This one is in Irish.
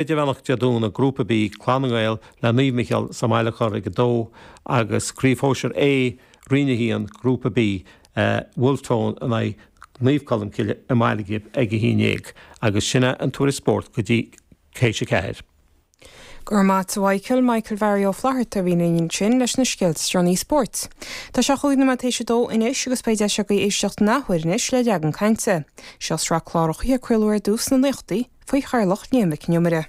Idirmheánach Dé Domhnaigh, Grúpa B, Clann na nGael le Naomh Micheál sa mBaile Chorr ag 2 agus Craobh Shóisir A, Roinn 1, Grúpa B, Wolfe Tone in aghaidh Naomh Colmcille i mBaile Ghib ag 11 agus sin é an tuairisc spóirt go dtí théis a ceathair. Go raibh maith a't a Mhichael, Michael Mhary Ó Flatharta a bhí linn ansin leis na scéalta is deireanaí spóirt. Tá sé chúig nóiméad théis a dó anois agus beidh deis agaibh éisteacht an athuair anois le Leagan Cainte. Seo sraith cláracha a craoladh ar dtús sna naochadaí faoi theaghlach Liam Mhic Con Iomaire.